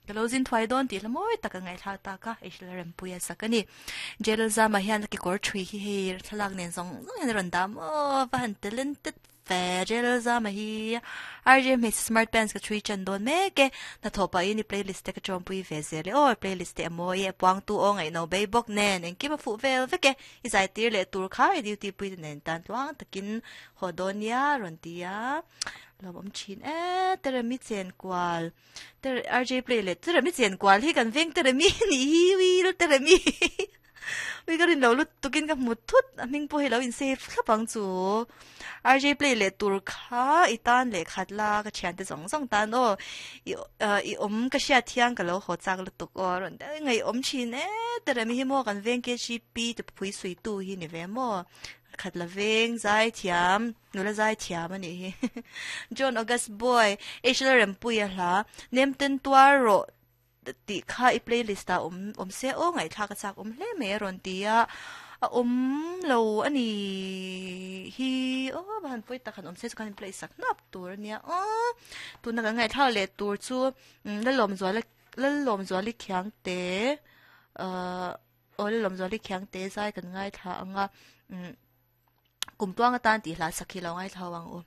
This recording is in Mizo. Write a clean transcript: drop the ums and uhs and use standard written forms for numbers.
Ka lo zin thuai dawn tih hla mawi tak a ngaihthla ta kha hei hrilh rempui a sak a ni. Jail zama hian a kekawr thui hi hei thlalak nen zawng zawng hian a rawn dah maw va han talented ve jail zama hi RJ hmeichhe smart pants ka thui tan dawn mek e hnathawh pahin i playlist te ka tawmpui ve zel e aw playlist te a mawi e a puangtu aw ngaihno bei bawk nen engkim a fuh vel vek e i zai tir leh tur kha i duty pui te nen tan tluang takin haw dawn nia rawn ti a lawmawm thin e Teremi chenkual. Ter RJ play leh Teremi chen kual hi kan veng Teremi nih hi ui lu Teremi ui ka rin lo lut tukin ka hmu thut a hming pawh hi lo in save thlap ang chu RJ play leh tur kha i tan leh khat la ka thian te zawng zawng tan aw i i awm ka hriat thiang ka lo haw chak lutuk aw rawn ngaih awm thin e Teremi hi maw kan veng KGP te pui sui tu hi ni ve maw khat la veng zai thiam. Nula zai thiam a nih hi. John August Boy, H Lalrempuia hla, Nem ten tuar rawh tih kha i playlist ah awm awm se aw ngaihthlak a chak awm hle mai a rawn ti a, a awm lo a ni hi aw va han pawi tak han awm se chu khan in play sak hnap tur a nia aw. Tuna kan ngaihthlak leh tur chu Lalawmzuala Lalawmzuali Khiangte ahh aw Lalawmzuali Khiangte zai kan ngaithla ang a umm. Kum tuang atan tih hla sak hi lo ngaithla ho ang u.